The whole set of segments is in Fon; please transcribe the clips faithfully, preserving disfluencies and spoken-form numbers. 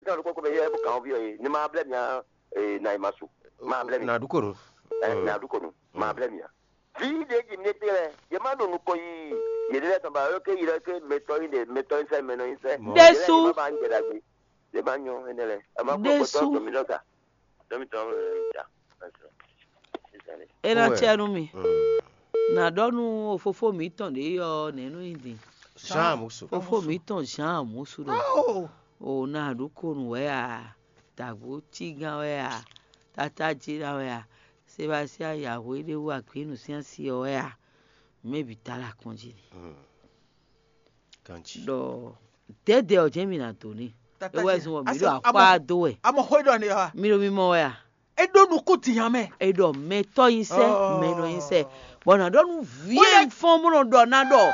Ní ɔ́ ɖokpó kpé yɛ bó kàn ɔ́ byɔ́ yě, ní ma blɛ́ mì ǎ. Ee, na yi ma su. Ma blɛ́ mì. Na ɖu konu. Ɛ, na ɖu konu. Ma blɛ́ mì ǎ. Vǐ ɖě ji mi ɖe lɛ́ɛ, yě má ɖo nukɔn yi yě ɖe lɛ́ɛ tɔn ba, ɔ́ ké yi ɖɔ ké mɛtɔ́ yi ɖe, mɛtɔ́ yi sɛ, mɛnɔ yi sɛ. Ɖésú. Yě má ba nyí ɖe ɖagbe. Yě má nyɔ énɛ́ lɛ́ɛ. Ɛ má kpɔ Ɖésú. Kpɔtɔ́ dɔmí ɖɔ ka. Dɔmí tɔn ɛ ja. É ná cɛ nú mi. Na ɖɔ nú fofó mǐtɔn ɖě ɔ́ nɛ̌ nú nyi din. Jean Amusu. Fofó mǐtɔn Jean Amusu ɖɔ. O na ɖu konu wɛ a, dǎgbó cígán wɛ a, tátájí ná wɛ a, Sebastien Yahweh ɖé wú agběnu sín asi ɔ́ wɛ a, mɛ bǐ ta lɛ akɔn jí ni. Ɖɔ dɛ̌dɛ ɔ́ jɛ́n mi ná dó n'i. É wɛ zɔn bɔ mǐ ɖo axwá dó wɛ. Amɔ xó ɖɔ ni ɔ́. Mi ɖo mimɔ wɛ a? É ɖó nukún din nya mɛ. É ɖɔ mɛtɔ́ nyi sɛ, mɛnɔ nyi sɛ. Bɔ nǎ ɖɔ nú vǐ e un fɔ́n bó nɔ ɖɔ ná ɖɔ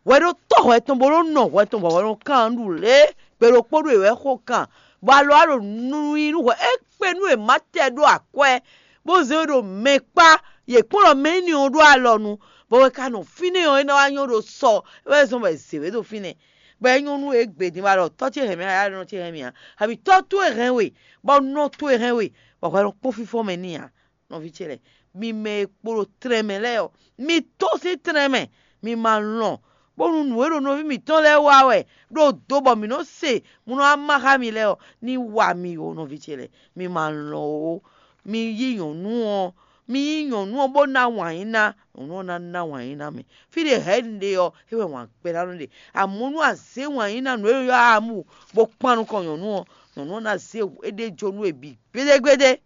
hwɛ ɖó tɔ́ hwɛ tɔn bó nɔ nɔ hwɛ tɔn bɔ hwɛ nɔ kan ɖu lě gbe ɖokpó ɖo è wɛ xo kan, bɔ alɔ á ɖo nu nyi nú hwɛ é kpe nú è má tɛ ɖó akwɛ́, bó zé we ɖo mɛ kpá, yě kplɔ́n mɛ énɛ́ ɔ́ ɖó alɔ nu, bɔ hwɛ ka nɔ fínɛ́ ɔ́ é ná wá nyɔ́ ɖo sɔ, é wɛ zɔ́n bɔ è zě we ɖo fínɛ́. Bɔ é nyɔ́ nú égbé din wá ɖɔ tɔ́ ce hɛn mì ǎ, nɔ ce hɛn mì ǎ, abǐ tɔ́ towe hɛn we, bɔ nɔ towe hɛn we, bɔ hwɛ nɔ kpɔ́n fínfɔ́n mɛ n'i ǎ. Nɔví ce lɛ́ɛ, mi mɛ e kpo ɖo tlɛn mɛ lɛ́ɛ ɔ́, mi tɔ́n sín tlɛn mɛ, mi ma lɔn, bónú nǔ e ɖo nɔví mǐtɔn lɛ́ɛ wa wɛ ɖo do bɔ mǐ nɔ se mú nɔ wá má xá mi lɛ́ɛ ɔ́, ní wa mi ó, nɔví ce lɛ́ɛ, mi ma lɔn ó. Mi yí nyɔ̌nu ɔ́, mi yí nyɔ̌nu ɔ́ bó ná wǎn yí ná, nyɔ̌nu ɔ́ ná ná wǎn yí ná mi. Fí ɖě hɛ̌ un ɖe ɔ́, é wɛ wǎn gbɛ́ ná nɔ ɖe. Amɔ̌ nú a zě wǎn yí ná nǔ e ylɔ́ amu bó kpan nukɔn nyɔ̌nu ɔ́, nyɔ̌nu ɔ́ ná zé éɖée jó nú we bǐ gbédégbédé.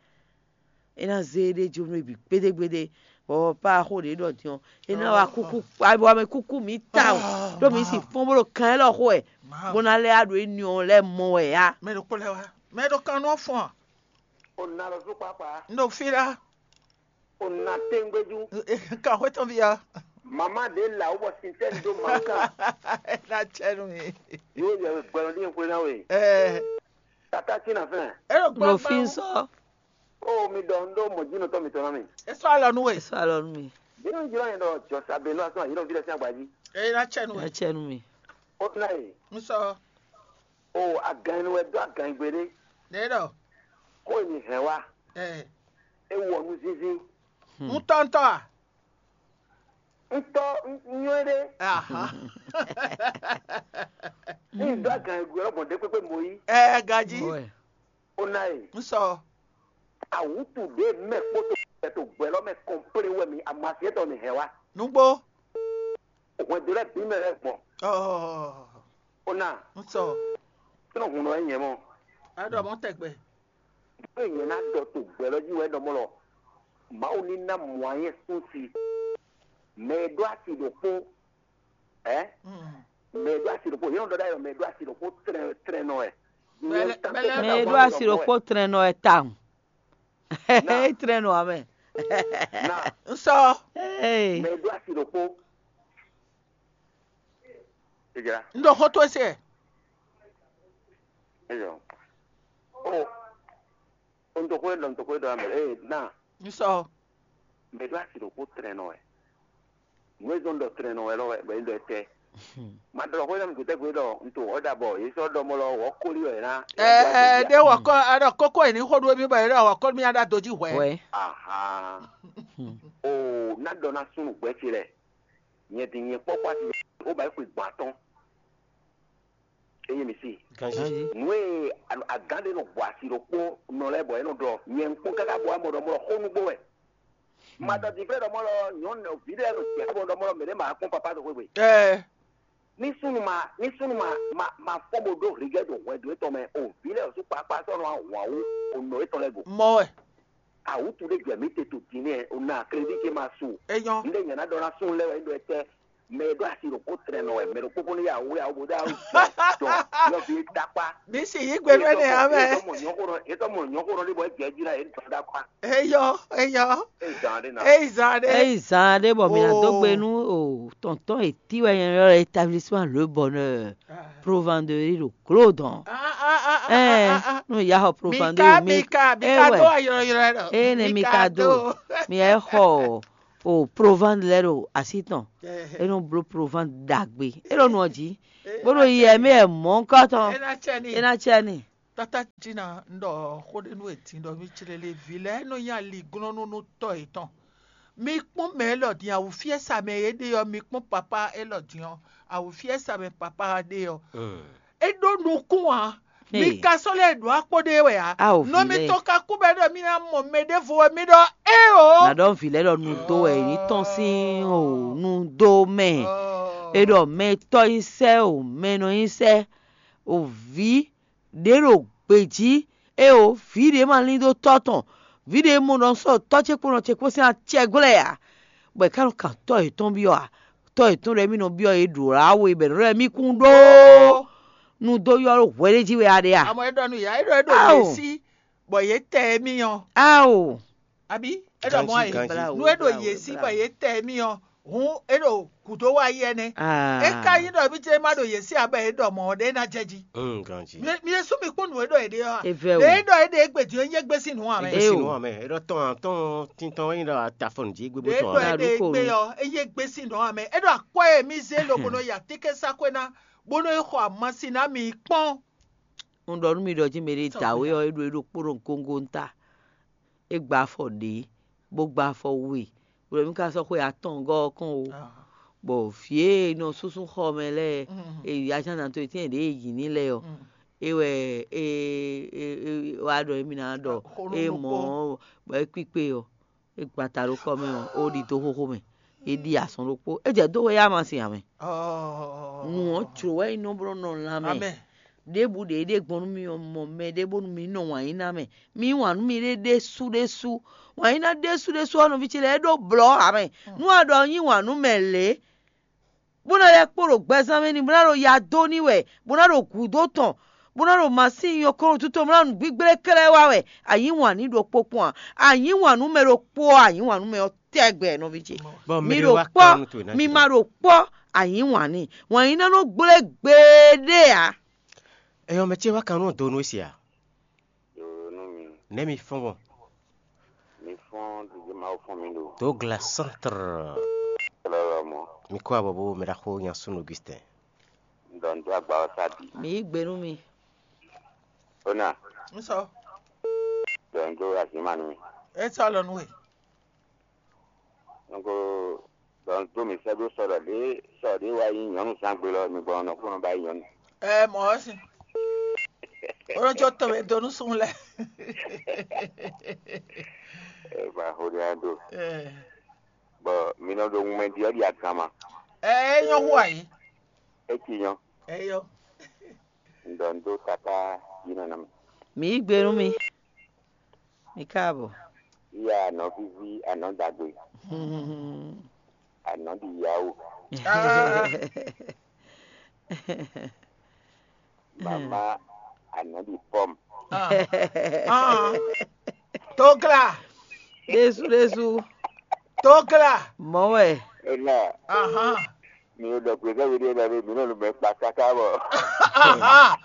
É ná zé éɖée jó nú we bǐ gbédégbédé. Bɔ pá xó ɖě ɖɔ din ɔ́, é ná wá kúkú, wá mɛ kúkú mǐ tawun, ɖó mǐ sin fɔ́n bó ɖo kan élɔ́ xo wɛ, bó ná lɛ́ wá ɖo énɛ́ ɔ́ lɛ́ɛ mɔ wɛ á. Mɛ ɖokpó lɛ́ɛ wá, mɛ ɖo kan nú ɔ́ fɔ́n a? O na lɔ zú kpákpá. Un ɖo fí lá. O na téŋgbéjú. Kan xwé tɔn ví a? Mama ɖě là wó bɔ sintɛ́n dó mǎ kan. É ná cɛ nú mi. Yóò yɛ gbɛlɔ ní xwé ná we. Ɛ Tata tí na fɛn. É ɖo Ɖo gbangba. Fi sɔ. O mi ɖɔ un ɖó mɔ̌jínɔtɔ́ mitɔn ná mi. É sɔ́ alɔ nú we. Sɔ alɔ nú mi. Bí wọ́n jẹ́ wọ́n yẹn ɖɔ jɔ̀sà bẹ́ẹ̀ ló asán yìí ló fi lẹ́sìn àgbájí. É ná cɛ nú we. Ɛ cɛ nú mi. Ó tún náà yìí. Ń sɔ. O agàn ẹni wɛ dó agàn ìgbé dé. Lě ɖɔ. Kó èmi hɛn wá. Ɛ. É wɔ nú zínzín. Ń tɔ́ntɔ́ a? Ń tọ́ ń nyɔ́ é ɖé. Aha. Ní ìdó agàn ìgbé lọ́gbọ̀n dé pépé mọ́ yí. Ɛ gají. Ó ná yìí. Ń sɔ. Àwùtù ɖé mɛ kpótó ẹ̀tọ́ gbɛlọ́ mɛ kɔ̀m̀plé wɛ mi àmàsíyẹ́tọ̀ mi hɛn wá. Nugbo. Hwɛndo lɛ bí mɛ lɛ gbɔn. Ɔ. Ó ná. Ń sɔ. Kí ló hun lọ yẹn mọ́? A ɖɔ mɔ tɛgbɛ. Bó yẹn ná dɔ to gbɛlɔ jí wɛ dɔ mɔ lɔ. Mawu ní ná mɔ ayé sún si. Mɛ e ɖó asi ɖokpó. Ɛ? Mɛ e ɖó asi ɖokpó. Yɛn ɖɔ ɖ'ayɔ mɛ e ɖó asi ɖokpó trɛn trɛn nɔ wɛ. Mɛ e ɖó asi ɖokpó trɛn nɔ wɛ tawun. É trɛn nɔ amɛ. Na. Ń sɔ. Ee. Mɛ e ɖó asi ɖokpó. Ìjà. Ń ɖo xó tó se. Eyɔ. O. O ntɔkwe dɔ ntɔkwe dɔ amɛ. Ee na. Ń sɔ. Mɛ ɖó asi ɖokpó trɛn nɔ wɛ. Nǔ e zɔn ɖɔ trɛn nɔ wɛ lɔ wɛ bɛ ɖɔ tɛ. Ma ɖɔ xó yɛn mi gutɛ gbe ɖɔ nto ɔda bɔ yé sɔ ɖɔ mɔ lɔ wɔ kóli wɛ na. Ɛɛ ɖe wɔ kɔ aɖɔ kókó yìí ní xó ɖó mi bɔ yé ɖɔ wɔ kóli mi aɖa dojí hwɛ. Wɛ. Aha. O na ɖɔ na sunu gbɛ ce lɛ. Nyɛ din nyɛ kpɔkpɔ asi o ba xwe gbɔn atɔn. Eye mi si. Nú e agán ɖé nɔ gbɔ asi ɖokpó nɔ lɛ́ɛ bɔ é nɔ ɖɔ nyɛ ŋkpɔ́n káká bɔ amɔ ɖɔ mɔ xó nú gbó wɛ. Ma ɖɔ dǐnflɛ́ ɖɔ mɔ lɔ nyɔ̌nu vǐ ɖé nɔ jɛ xó bɔ ɖɔ mɔ lɔ mɛ ɖé ma kpɔ́n papá ɖo xwé gbe. Ní súnnu ma ní súnnu ma ma ma fɔ́n bo ɖó hligɛ́ ɖo hwɛndo étɔn mɛ o, vǐ lɛ́ɛ osu kpakpa sɔ́ nɔ wǎn wú o nɔ étɔn lɛ́ɛ go. Mɔ wɛ. Awǔtu ɖé jɛ mǐ te to din nɛ́ o na krédí ce ma su. Eyɔn. Ndé nyɛ ná ɖɔ ná sún lɛ́ wɛ é ɖɔ ɛtɛ. Mɛ e ɖó asi ɖokpó tlɛ nɔ wɛ mɛ ɖokpó fún yà wú yà wú bó dó awu jɔ yɔ fi takpa. Bí sì yí gbe fẹ́ nɛ amɛ. Etɔ mɔ nyɔkó ɖɔ etɔ mɔ nyɔkó ɖɔ ɖé bɔ é jɛ jí ná yé dɔn dá kpa. Eyɔ eyɔ. É zan ɖé na. Eyi zan ɖé. Eyi zan ɖé bɔ mǐ ná dó gbe nú o tɔntɔn ètí wɛ nyɛ ylɔ́ établissement Le Bonheur Provendeur ɖo Glodɔn. Ɛɛ nú ya xɔ Provendeur mi. Mika mika mika do ayɔyɔ lɔ. Eye ne mika do mi yɛ xɔ o Provend lɛ ɖo asi tɔn. E nɔ blo Provend ɖagbe e ɖo nɔ jí bó ɖo yi ɛmɛ ɛ mɔ ŋkɔ tɔn. E na tsɛ ni. Tata Jina, un ɖɔ xó ɖé nú we din ɖɔ mi clélé vǐ lɛ́ɛ nɔ nyi aliglɔ́nú nú tɔ́ yětɔn. Mi kpɔ́n mɛ élɔ́ din, awǔfiɛ́sa mɛ e ɖe ɔ́, mi kpɔ́n papá élɔ́ din ɔ́, awǔfiɛ́sa mɛ papá ɖe ɔ́, é ɖó nukún ǎ. Mi ka sɔ́ lɛ́ ɖǒ akpó ɖé wɛ ǎ. Nɔ mitɔn ka kú bɔ é ɖɔ mì ná mɔ mɛ ɖěvo wɛ mì ɖɔ éeǒ. Nǎ ɖɔ vǐ lɛ́ɛ ɖɔ nu dó wɛ yě ní tɔ́n sín o nu dó mɛ. É ɖɔ mɛ tɔ́ nyí sɛ́ o, mɛ nɔ nyí sɛ́ o, vǐ ɖě ɖo gbejí, éeǒ, vǐ ɖě ma lín dó tɔ́ tɔn, vǐ ɖě mɔ ɖɔ un sɔ́ tɔ́ ce kpó nɔ ce kpó sín acɛ glɔ́ ɛ ǎ, bɔ è ká nɔ kan tɔ́ yětɔn byɔ́ ǎ. Tɔ́ yětɔn ɖɔ émí nɔ byɔ́ yě ɖǒ lá we bɔ è nɔ ɖɔ émí kún ɖó nu dó ylɔ́ ɖó hwɛ ɖé jí wɛ a ɖe a? Amɔ é ɖɔ nú yě, é ɖɔ é ɖo yě sí, bɔ yě tɛ émí ɔ́. Ao! Abǐ é ɖɔ mɔ̌ a yě? Nú é ɖo yě sí bɔ yě tɛ émí ɔ́, hǔn é ɖo gǔdo wá yi ɛnɛ́. É ka nyí ɖɔ émí jɛ́n ma ɖo yě sí ǎ bɔ é ɖɔ mɔ̌ ɖé ná jɛ jí. Mi ɖésú mi kpɔ́n nǔ e ɖɔ é ɖe ɔ́ a? Lě e ɖɔ é ɖe égbé din ɔ́, é nyí égbé sín nǔ ǎ mɛ. Égbé sín nǔ ǎ mɛ. É ɖɔ tɔn atɔ́ɔ́n tintɔn é nyí ɖɔ atafɔn jí gbégbé tɔn ǎ. Lě e ɖɔ é ɖe égbé ɔ́, é nyí égbé sín nǔ ǎ mɛ. É ɖɔ akwɛ́ e mì zé lobo nɔ yi atínkɛ́nsaxwé ná, bó nɔ yi xɔ amasin ná mi kpɔ́n. Un ɖɔ nú mi ɖɔ jí mɛɖé da wé ɔ́, é ɖo é ɖokpónɔ góngónta. É gba afɔ ɖě, bó gba afɔ we, bó ɖɔ mì ka sɔ́ xwe atɔ́ɔ́ngɔ́ ɔ́ kɔn ó. Bɔ vǐ e nɔ súnsún xɔ mɛ lɛ́ɛ, e yi azán to etɛ́ɛn ɖě e yǐ ní lɛ́ɛ ɔ́, é wɛ é é é wá ɖɔ émí ná ɖɔ é mɔ ɔ́, bɔ é kpíkpé ɔ́, é gbata ɖó kɔ́ mɛ ɔ́, ó ɖi dó xóxó mɛ, é ɖi azɔn ɖokpó, é jɛ dó wɛ yá ma sin ǎ mɛ. Nǔ ɔ́ jlǒ wɛ é nɔ bló nɔ lanmɛ. Ɖěbǔ ɖě ɖe gbɔn nú mì ɔ́, mɔ mɛ ɖé bónú mǐ nɔ wǎn yí ná mɛ. Mǐ yí wǎn nú miɖée ɖésú ɖésú. Wǎn yí ná ɖésú ɖésú ɔ́, nɔví ce lɛ́ɛ é ɖó blɔ̌ ǎ mɛ. Nú a ɖɔ un yí wǎn nú mɛ lě, bó ná lɛ́ kpo ɖo gbɛzán mɛ n'i, bó ná ɖo ya dó n'i wɛ, bó ná ɖo gǔdo tɔn, bó ná ɖo masín nyɔ̌kɔ́nútú tɔn, bó ná ɖo nǔgbígblé klɛ́ wá wɛ, a yǐ wǎn n'i ɖokpó kpɔ́n ǎ. A yǐ wǎn nú mɛ ɖokpó ɔ́, a yǐ wǎn nú mɛ ɔ́ tɛgbɛ, nɔví ce. Mi ɖo kpɔ́, mi ma ɖo kpɔ́, a yǐ wǎn n'i. Wǎn yí ná nɔ gblé gbeɖé ǎ. Ɛyɔ mɛ ce wá kan nú do nú é se a? Ɖo nú mi. Nɛ̌ mi fɔ́n gbɔn? Mi fɔ́n ɖiɖe Mawu fɔ́n mi ɖo. Douglas Centre. Lɔlɔmɔ. Mi kó abɔ bó mɛ ɖaxó nya súnnu Augustin. Ɖɔ n dó agba ɔ́ sá bǐ. Mi yí gbe nú mi. Ó nà. Un sɔ. Ɖɔ n dó azǐnma nú mi. É sɔ́ alɔ nú we. Nukó ɖɔ un dó mǐ sɛ́ ɖó sɔ ɖɔ ɖě sɔ ɖě wá nyí nyɔ̌nu zán gbe lɔ mi gbɔn nɔ kó nɔ ba nyí nyɔ̌nu. Ɛ mɔ̌ ɔ́ sin. Ó nɔ có tɔn mɛ dó nú súnnu lɛ́ɛ. Ɛ ba xo ɖé á ɖo. Ɛ. Bɔ mi nɔ ɖo ŋumɛ ɖi ɔ́ ɖi aganma. Ɛ é nyɔ́ hu ayǐ. É ci nyɔ́. Ɛ yɔ. Un ɖɔ un dó tatá yí nɔ ná mì. Mǐ yí gbe nú mi. Mi káàbọ̀. Yíyá anɔ̌ víví anɔ̌ dagbe, anɔ̌ ɖi yawó. Mama anɔ̌ ɖi pɔ́m. Togla. Ɖésú ɖésú. Togla. Mɔ̌ wɛ. Ena. Ahan. Mi ò ɖɔ gbězɔ́ we ɖé lɔ ɖé, mi nɔ nu mɛ kpa káká bɔ. Ahan.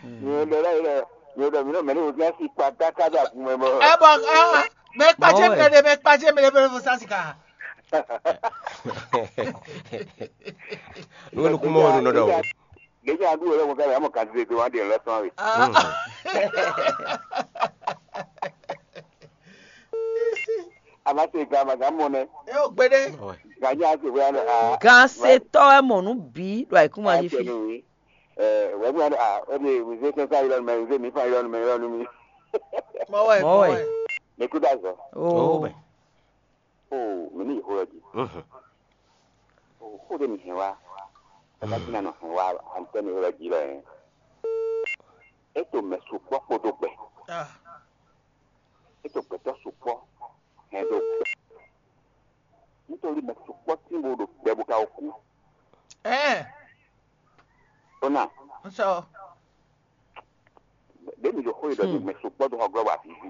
Mi ò ɖɔ lɔ mi ò ɖɔ mi nɔ mɛ ní wòzán si kpa káká ɖo agun mɛ bɔ. Ɛ bɔ ah, mɛ kpajɛ mi ɖe mɛ kpajɛ mi ɖe fɛnɛ fo sasi ka. Nú nukúnmɔ wo nɔ ɖɔ. Ɖeji aɖu wɛ lɛ mo ka lɛ amɔ kan ti de wa ɖe lɛ sɔn we. A ma se gan ma gan mɔ nɛ. E o gbeɖe. Gan nya se wɛ a. Gan se tɔ wɛ mɔ nu bi ɖo ayikuma ji fi. Ɛ wɛ mu ya a o de wuzé sɛnsɛn ayɔlɔ mɛ wuzé mi fa ayɔlɔ mɛ yɔlɔ mi. Mɔ wɛ mɔ wɛ. Mi kú dá zɔ. Oo. Oo, mǐ ní yi xó lɔ jí. Oo, xó ɖé mǐ hɛn wá. Tata jí ná nɔ hɛn wá antɛ́ni xó lɔ jí lɔ hɛn. É to mɛ sukpɔ́ kpódó gbɛ. É to gbɛtɔ́ sukpɔ́ hɛn ɖó gbɛ. Nítorí mɛ sukpɔ́ tín bo ɖo gbɛ bo ka wɔ kú. Ɛɛ. Ó nà. Nsɔ. Ɖé mi ɖo xó yi ɖɔ mi mɛ sukpɔ́ ɖo xɔ glɔ́ wa vivi.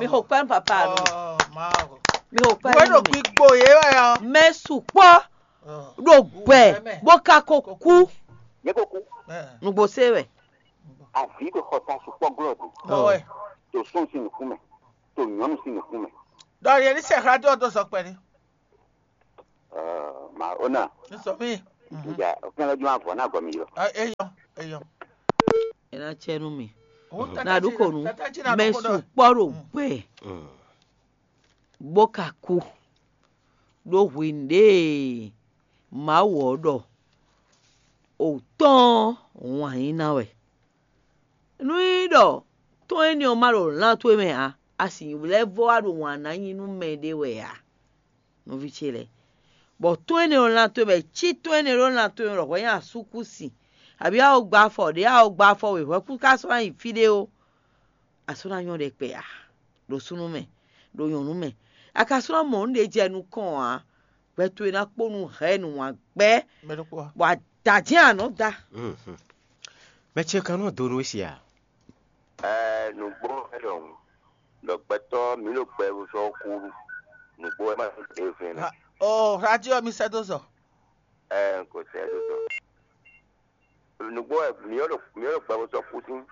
Mi xo kpɛ́n papa mi. Mi xo kpɛ́n. Wé ɖo gbígbó yé wɛ ɔ. Mɛ sukpɔ́ ɖo gbɛ bó ka ko kú. Yé ko kú. Nugbo se wɛ. Avi ɖo xɔ ta sukpɔ́ glɔ́ do. Bɔwɛ. To sɔn si nukún mɛ. To nyɔnu si nukún mɛ. Ɖɔ yɛ ní sɛ xlá dó ɔdó sɔ kpɛɖé. Ma ona. Nsɔ mi. Nígbà ọ̀kan lọ́jọ́ máa fọ̀ náà gọ̀ mí lọ. Eyɔ, eyɔ. Ena cɛ nú mi. Ó tata Na ɖu jí konu. Tata jí na Mɛ ɖokó ɖɔ. Sukpɔ ɖo gbɛ bó ka kú ɖó hwǐn ɖě Mawu ɔ́ ɖɔ òtɔ́n ɔ́ wǎn yí ná wɛ. Nú nyí ɖɔ tɔ́n énɛ́ ɔ́ ma ɖo lan towe mɛ ǎ, a sǐ lɛ́ vɔ wá ɖo wǎn ná nyi nú mɛɖé wɛ ǎ, nɔví ce lɛ́ɛ. Bɔ tɔ́n énɛ́ ɖo lan towe mɛ, cí tɔ́n énɛ́ ɖo lan towe mɛ ɖɔ hwɛ nyi asúkúsi, abǐ a ko gba afɔ ɖě, a ko gba afɔ wěhwɛ́kú ká sɔ́ ná yi fí ɖé ó, a sɔ́ ná nyɔ́ ɖɛkpɛ ǎ, ɖo súnnu mɛ, ɖo nyɔ̌nu mɛ. A ka sɔ́ ná mɔ nǔ ɖé jɛ nukɔn ǎ, gbɛ towe ná kpó nú hɛ̌ nǔwangbɛ́, Mɛ ɖokpó ǎ. Bɔ a da jɛ́n a nɔ da. Mɛ ce kan nɔ do nú we si a? Ɛɛ, nǔgbó wɛ ɖɔhun. Ɖɔ gbɛtɔ́ mǐ ɖo gbɛ sɔ́ kú. Nǔgbó wɛ má ɖo ɖě fɛn nɛ. O radio mi sɛ́ dó zɔ. Ɛɛ, n ko sɛ́ dó zɔ. Nǔgbó wɛ mǐ ɖo mǐ ɖo gbɛ sɔ́ kú sín.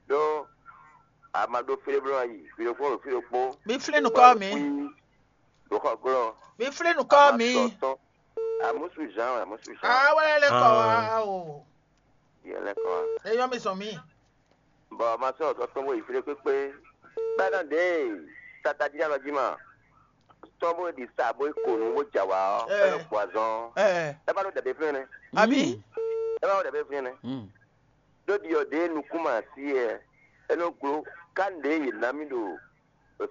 Ɖó a ma ɖó fí ɖé bló ná yi, fí ɖokpó ɖo fí ɖokpó. Mi flín nukɔn mi. Ɖo xɔ glɔ́. Mi flín nukɔn mi. Amúsù Jean, amúsù Jean. Awɛ lɛ kɔ wa o. Yɛ lɛ kɔ wa. Eyɔ mi sɔn mi. Bɔ ma sɔ́ ɔ́ tɔ́n bó yi fí ɖé kpékpé. Bɛ́ nɔ ɖě tata jí alɔ jí ma. Tɔ́n bó ɖi sa bó yi ko nǔ bó jɛ awǎ ɔ́, é nɔ gbɔ azɔn ɔ́. Ɛ É ba ɖó dɛ̌ ɖé fínɛ́ nɛ́. Abǐ? É ba ɖó dɛ̌ ɖé fínɛ́ nɛ́. Ɖó ɖiɔ ɖě nukún ma sí ɛ, é nɔ gló ká nǔɖé yě ná mì ɖo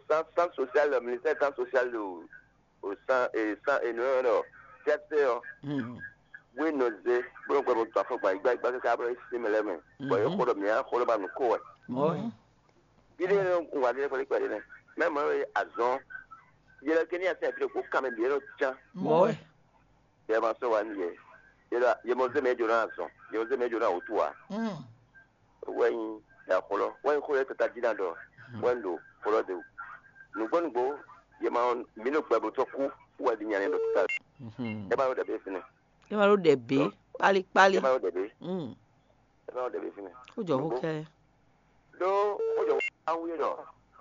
san san social ministère san social ɖo o san e san e nɔ ɖɔ sɛsɛ ɔ wé nɔ zé bó nɔ gbɛ bó to afɔgba yi gbá yi gbá káká bó nɔ yi sí mɛ lɛ́ɛ mɛ bɔ yě xo ɖɔ mǐ á xo ɖɔ ba nǔ ko wɛ. Mɔ̌ wɛ. Yi ɖé nɔ un wa ɖé kpɛɖé kpɛɖé nɛ mɛ mɔ e azɔn yɛ lɛ ké ní asɛ fi ɖokpó kan mɛ bǐ é nɔ cán. Mɔ̌ wɛ. Yɛ ma sɔ́ wa nú yɛ yɛ ɖɔ yɛ mɔ zé mɛ jǒ ná azɔn yɛ mɔ zé mɛ jǒ ná wǔtu ǎ. Wɛ nyi ɖa xlɔ́ wɛ nyi xó lɛ́ɛ tata jí ná ɖɔ wɛ nyi ɖo xlɔ́ de o. Nǔgbó nǔgbó yɛ ma mǐ ɖo gbɛ bó tɔ́ kú wɛ ɖi nya nɛ ɖo títà. Ɛ má ɖo ɖɛ bɛ fínɛ́. É ma ɖó ɖɛ bě kpálíkpálí. Ɛ má ɖo ɖɛ bɛ. Mm. Ɛ má ɖo ɖɛ bɛ fínɛ́. Ó jɔ xó kɛ. Ɖó ó jɔ awu yé ɖɔ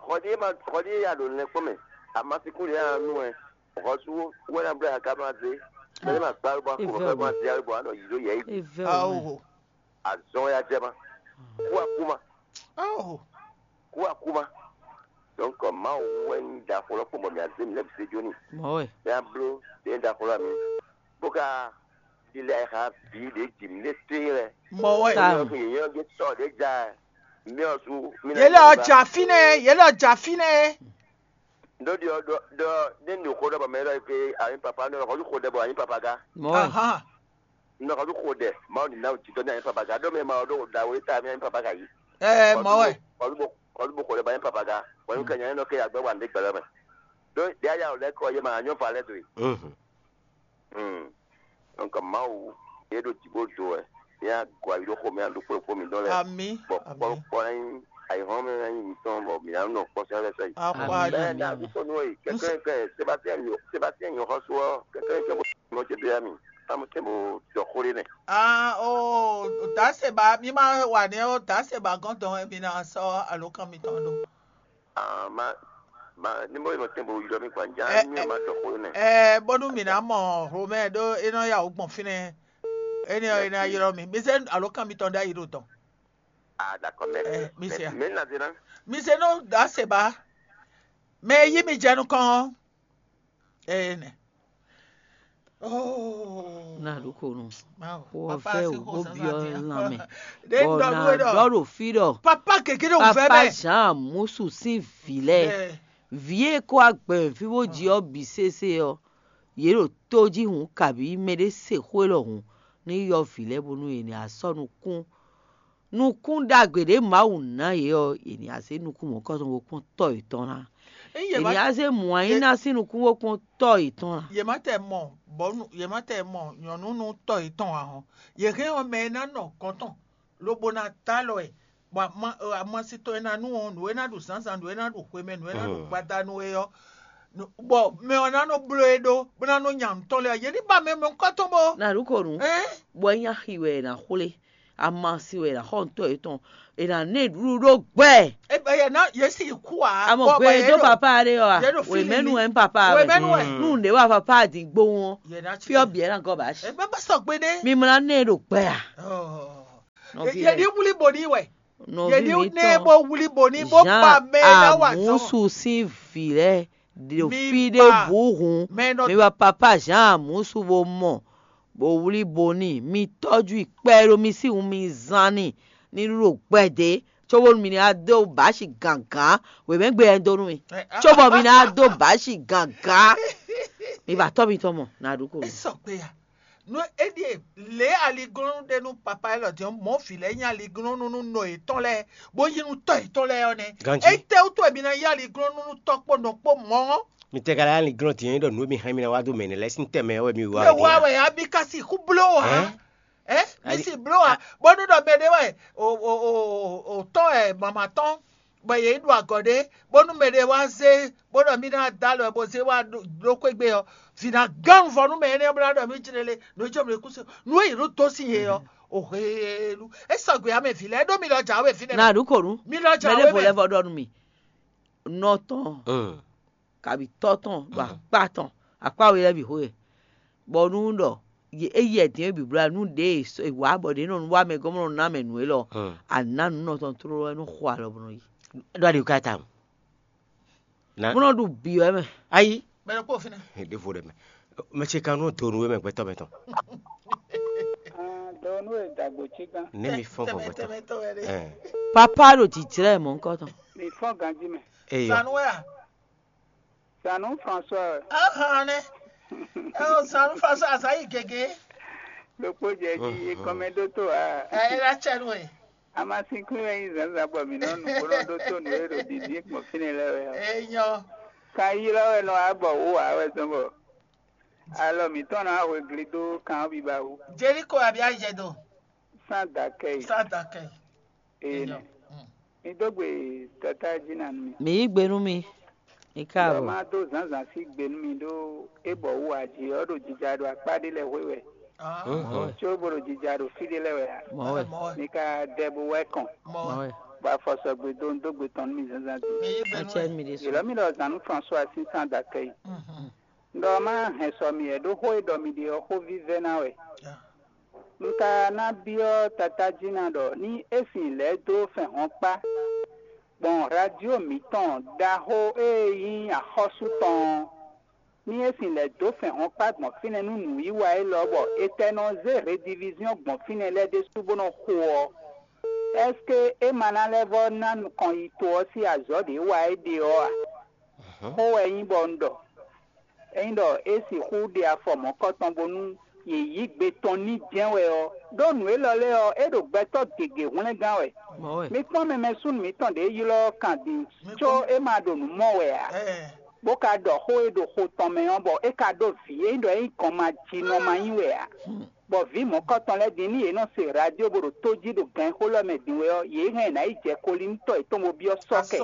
xɔdí ma xɔdí yé ya ɖo nɛ kpɔ́n mɛ. Amasikú ɖé ya nú ɛ. Xɔsú wɛ ná blɛ aka ma zé. Mɛ ma gbá bɔ ko bɔ ma zé ayi bɔ anɔ yi ɖó yɛ yi. Evɛ o. Awo. Azɔn ya jɛ ma. Kú akú ma. Awo. Kú akú ma. Donc Mawu wɛ ní da xó lɔ kpɔn bɔ mi azé mi lɛ bi se jóni. Mɔwɛ. Mi abló ɖe da xó lɔ mi. Bó ka ɖi lɛ xa bǐ ɖě ji mǐ ɖe tlí lɛ. Mɔwɛ. Tam. Yě nyɔ́ gé sɔ ɖě ja mí ɔ́ sú mí Yě lɛ ɔ́ ja fínɛ́, yě lɛ ɔ́ ja fínɛ́. Ɖó ɖiɔ ɖɔ ɖɔ ɖé nu xó ɖɔ bɔ mɛ ɖɔ ke anyi papa nɔ xɔjú xó ɖɛ bɔ anyi papa gá. Mɔwɛ. Ahan. Nɔ xɔjú xó ɖɛ Mawu ní ná jǐtɔ ní anyi papa gá ɖó mɛ ma ɖó ɖa wo ta mí anyi papa gá yí. Ɛɛ mɔwɛ. Xɔjú bó xɔjú bó xó ɖɛ bɔ anyi papa gá. Xɔjú kɛ nyɛ nɔ ke agbɛ wa ní gbɛlɛ mɛ. Ɖó ɖe aya lɛ kɔ yé ma anyɔ va lɛ do yi. Donc Mawu yé ɖo jǐ bó do wɛ yé agɔ ayi ɖó xomɛ aɖó kplɔ́kpɔ́ mǐtɔn lɛ́ɛ. Ami. Bɔ kpɔ́kpɔ́ ná nyí ayǐhɔ́n mɛ ná nyí mǐtɔn bɔ mǐ ná nɔ kpɔ́ sɛ́n lɛ́ɛ sɛ́ yi. Akwa Bɛɛ na yami. Aɖúgbò nú èyí kɛkɛ kɛ Sébastien nyo Sébastien nyo xɔ́sú ɔ́ kɛkɛ kɛ bó nɔ ce bia mì. Amu tɛn bó jɔ xó ɖé nɛ. Ah, o daseba mi ma wa nɛ o daseba gɔntɔn mi na sɔ alo kan mi tɔn do. Ah, ma ma ní bó nɔ tɛn bó yɔ mi kpa já ní ma jɔ xó ɖé nɛ. Ɛ bónú mi na mɔ Romɛ ɖó e nɔ ya wò gbɔn fínɛ. Ene ɔ ene ayɔrɔ mi mi se alo kan mi tɔn ɖe ayi ɖo tɔn. Ah, d'accord, mais Ɛ mi se ya. Mais na zena. Mi se nɔ daseba. Mɛ e yí mi jɛ nukɔn ɔ́. Ene. Oh. Na ɖo ko nu. Mawu. Wɔ Papa vɛ si o xo bó sansan biɔ din. Lan mɛ. Ɖe Bɔ ŋdɔ na nú we ɖɔ. Ɖɔ ɖo fi ɖɔ. Papa keke ɖo vɛ Papa mɛ. Jean Musu sín vǐ lɛ. Ɛ. Vǐ e kó agbɛ̌nví bó ji ɔ́ bǐ sésé ɔ́, yě ɖo tó jí hǔn kabǐ mɛɖé se xó élɔ́ hǔn ní yɔ vǐ lɛ́ɛ bónú yě ní asɔ́ nukún. Nukún ɖagbe ɖě Mawu ná yě ɔ́, yě ní azé nukún mɔ̌kɔ́tɔn bó kpɔ́n tɔ́ yětɔn ná. Ényí yě Yě má ní azé mǔ anyí ná sín nukún bó kpɔ́n tɔ́ yětɔn ná. Yě má tɛ mɔ bɔ̌nu yě má tɛ mɔ nyɔ̌nu nú tɔ́ yětɔn ǎ hɔn. Yě hɛn ɔ́ mɛ e ná nɔ gɔ̌n tɔn lobo ná ta alɔ ɛ, bɔ ama- ɛ, amasi tɔn e ná nu ɔ́, nǔ e ná ɖu zǎnzǎn, nǔ e ná ɖu hwemɛ, nǔ e ná ɖu gbada nú é ɔ́, nǔ- bɔ mɛ ɔ́ ná nɔ bló e ɖó, bó ná nɔ nya nǔ tɔn lɛ́ɛ ɔ́, yě ní ba mɛ mɔ̌kɔ́tɔn bó. Na ɖu ko nu, Ɛ́n? Bɔ é nyí axi wɛ è nǎ xwlé. Amasi wɛ è nǎ xɔ nǔtɔ́ yětɔn, è nǎ ná ɛ ɖuɖu ɖó gbɛ. Ebe yɛ ná yě sì kú a? Amɔ gbé dó papá ɖé ɔ́ a? Wěmɛ́nu wɛ nyí papá wɛ. Wěmɛ́nu wɛ. Nú nǔɖé wa papá ɖi gbówún ɔ́, fí ɔ́ bǐ ɛ ná gɔ́ bǎ shi. Ebe bá sɔgbe ɖé. Mi mlá ná ɛ ɖo gbɛ a? Nɔví yɛ ní wlí bò ní wɛ. Nɔví yɛ ní ná ɛ bó wlí bò ní bó pa mɛ ná wa zɔn. Jean Amusu sín vǐ lɛ́ɛ ɖo fí ɖěbǔ hǔn, mi wá papá Jean Amusu bó mɔ, bó wlí bó n'i, mi tɔ́jú i kpɛɖó mi sín wun mi zán n'i, ní ɖu ɖo gbɛdě, cóbónú mi ná dó bǎ shi gǎngán. Wěmɛ́gbe ɛ dó nú mi, cóbɔ mi ná dó bǎ shi gǎngán. Mi ba tɔ́ mitɔn mɔ, nǎ ɖu kó. É sɔgbe a? Nú é ɖíe lě aliglɔ́nú ɖe nú papá élɔ́ din ɔ́, mɔ̌ vǐ lɛ́ɛ nyí aliglɔ́nú nú nɔ yětɔn lɛ́ɛ, bó yí nú tɔ́ yětɔn lɛ́ɛ ɔ́ nɛ́. Ganjí. Étɛ́wútu wɛ mi ná yí aliglɔ́nú nú tɔ́ kpó nɔ kpó mɔ̌ ɔ́? Mi tɛ ka lɛ́ aliglɔ́n din ɔ́, nyí ɖɔ nǔ e mi hɛn mì ná wá dó mɛ nɛ́ lɛ́ɛ sín tɛmɛ ɔ́ wɛ mi wá. Mi wá wɛ a mi ka sixú bló ǎ. Ɛ? Ɛ? Mi si bló ǎ. Bónú ɖɔ mɛ ɖé wɛ o o o o tɔ́n wɛ mama tɔn bɔ yě yi ɖu agɔ̌ ɖé, bónú mɛ ɖé wá zé bó ɖɔ mì ná dó alɔ bó zé wá ɖó xwé gbe ɔ́, vǐ ná gán vɔ nú mɛ énɛ́ bó ná ɖɔ mì jlé lé, nǔ jɔ mì kú se nú é yě ɖo dó sín yě ɔ́, o helu. É sɔgbe ǎ mɛ vǐ lɛ́ɛ ɖó mi lɔ jǎwe fínɛ́. Na ɖu kò nu. Mi lɔ jǎwe mɛ. Mɛ ɖěvo lɛ́ vɔ ɖɔ nú mi. Nɔ tɔn, kabi tɔ́ tɔn ɖo akpá tɔn, akpá we lɛ́ɛ bǐ xo wɛ. Bɔ nú ɖɔ é yi ɛdǐn e bǐblá nú ɖě e wǎ bɔ ɖě nɔ wá mɛ gɔ́n bó nɔ ná mɛ nǔ élɔ́, a nǎ nǔ nɔ tɔn tlóló wɛ nú xo alɔ bó nɔ yi. Ɖó aɖi ka ta. Bó nɔ ɖu bǐ wɛ mɛ. Ayi. Mɛ ɖokpó fínɛ́. Ɖěvo ɖe mɛ. Mɛ ce kan nɔ do nú we mɛ gbɛtɔ́ mɛ tɔn. Dɔwɔnu e dagbo cí gán. Ne mi fɔn gbɔgbɔ tɔn. Papa ɖo jijlɛ mɔ̌ ŋkɔ tɔn. Mi fɔn ganjí mɛ. Eyɔ. Sanu wɛ a? Sanu François wɛ. Ahan nɛ. Ɛ o Sanu François azan yi gege. Ɖokpó jɛ jí ekɔn mɛ ɖótó a. Ɛ ɛ la cɛ nu e. Amasinkun wɛ nyí zǎnzǎn bɔ mǐ nɔ nu bó nɔ ɖótó nǔ e ɖo dǐndín gbɔn fínɛ́ lɛ́ɛ wɛ ɔ́. Enyɔ. Kan ylɔ́ wɛ nɔ wá bɔ wǔ wǎ wɛ zɔn bɔ alɔ mǐtɔn ná hwe gli dó kan ɔ́ biba wú. Jeriko abia jɛ do. Sans d'accueil. Sans d'accueil. Ee nɛ. Mi dó gbe tata jí na nú mi. Mi yí gbe nú mi. Mi ká Bɔ bɔ. Ma dó zǎnzǎn sí gbe nú mi ɖó é bɔ wú aji ɔ́ ɖo jija ɖo akpá ɖé lɛ́ɛ hwe wɛ. Có bó ɖo jija ɖo fí ɖé lɛ́ɛ wɛ ǎ. Mɔ̌ wɛ. Mi ka dɛ bó wɛ kɔn. Mɔ̌ wɛ. Bɔ afɔ sɔgbe dó un dó gbe tɔn nú mi zǎnzǎn din. Acɛ mi ɖésú. Yě lɔ́ mì ɖɔ zǎn nú François sín sans d'accueil. Un ɖɔ má hɛn sɔ mi wɛ ɖó xó e ɖɔ mi ɖe ɔ́ xó vívɛ́ ná wɛ. Un ka ná byɔ́ Tatájína ɖɔ ní é sin lɛ̌ dó fɛ́n hɔn kpá gbɔn radio mǐtɔn ɖaxó e nyí axɔ́sú tɔn ɔ́, ní é sin lɛ̌ dó fɛ́n hɔn kpá gbɔn fínɛ́ nú nǔwiwa élɔ́ bɔ è tɛ nɔ zé rediviziɔn gbɔn fínɛ́ lɛ́ɛ ɖésú bó nɔ xo ɔ́, ɛ́seke é ma ná lɛ́ vɔ́ ná nukɔn yi to ɔ́ sín azɔ̌ ɖě wa é ɖe ɔ́ a? Xó wɛ nyí bɔ un ɖɔ. Ényí ɖɔ é sixú ɖe afɔ mɔ̌kɔtɔn bónú yě yí gbe tɔn n'i jɛ́n wɛ ɔ́, ɖó nǔ élɔ́ lɛ́ɛ ɔ́, é ɖo gbɛtɔ́ gěgé hwlɛ́ngán wɛ. Mɔ̌ wɛ. Mi kpɔ́n mɛ mɛsúnnu mǐtɔn ɖě ylɔ́ kan din, có é ma ɖo nǔ mɔ wɛ ǎ, bó ka ɖɔ xó e ɖo xo tɔn mɛ ɔ́, bɔ é ka ɖó vǐ e nyí ɖɔ é nyí gɔnmajínɔ ma nyí wɛ ǎ. Bɔ vǐ mɔ̌kɔtɔn lɛ́ɛ din ní yě nɔ se radio bó ɖo tó jí ɖo gǎnxó lɛ́ɛ mɛ din wɛ ɔ́, yě hɛn ɛ ná yi jɛ Kolíntɔ yětɔn bó byɔ́ sɔ́ kɛ.